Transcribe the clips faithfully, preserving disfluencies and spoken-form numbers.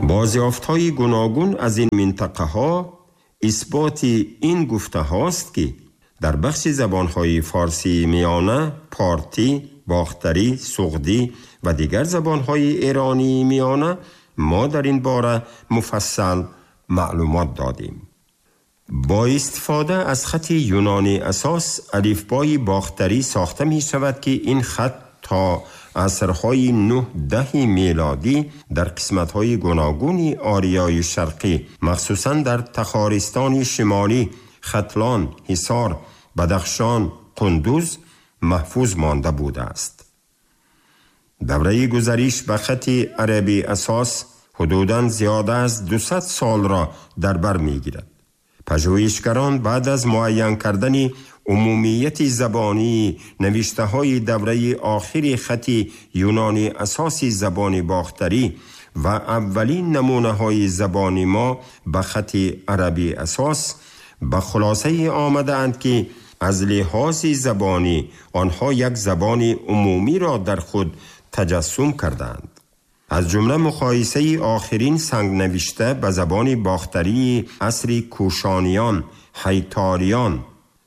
بازیافت‌های گوناگون از این منطقه‌ها اثبات این گفته هاست که در بخش زبان‌های فارسی میانه، پارتی، باختری، سغدی و دیگر زبان‌های ایرانی میانه ما در این باره مفصل معلومات دادیم. با استفاده از خط یونانی اساس الفبای باختری ساخته می شود که این خط تا عصرهای نه ده میلادی در قسمت‌های گوناگون آریای شرقی، مخصوصاً در تخارستان شمالی، ختلان، حصار، بدخشان، قندوز محفوظ مانده بوده است. دوره گذریش به خط عربی اساس حدوداً زیاد از دویست سال را در بر می‌گیرد. پژوهشگران بعد از معین کردن عمومیت زبانی نوشته‌های دوره آخر خط یونانی اساس زبان باختری و اولین نمونه‌های زبان ما به خط عربی اساس به خلاصه آمدند که از لحاظ زبانی آنها یک زبان عمومی را در خود تجسم کردند. از جمله مقایسه آخرین سنگ نوشته به زبان باختری عصر کوشانیان، حیتاریان،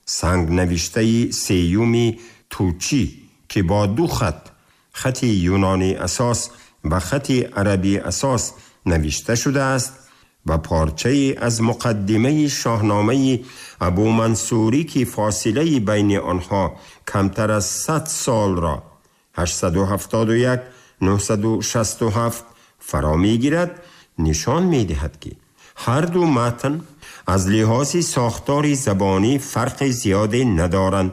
سنگ نوشته سیوم توچی که با دو خط، خط یونانی اساس و خط عربی اساس نوشته شده است و پارچه از مقدمه شاهنامه ابو منصوری که فاصله بین آنها کمتر از صد سال را هشتصد و هفتاد و یک نهصد و شصت و هفت فرا می‌گیرد، نشان می‌دهد که هر دو متن از لحاظ ساختار زبانی فرق زیادی ندارند.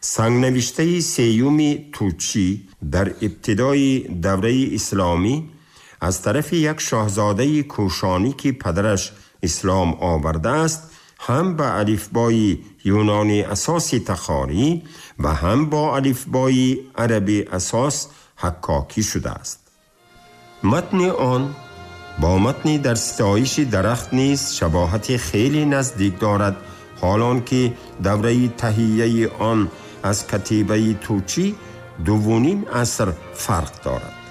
سنگ نوشته سیوم توچی در ابتدای دوره اسلامی از طرف یک شاهزاده کوشانی که پدرش اسلام آورده است، هم به الفبای یونانی اساس تخاری و هم با الفبای عربی اساس حکاکی شده است. متن آن با متن در ستایش درخت نیز شباهت خیلی نزدیک دارد، حالان که دوره تهیه آن از کتیبه توچی دومین عصر فرق دارد.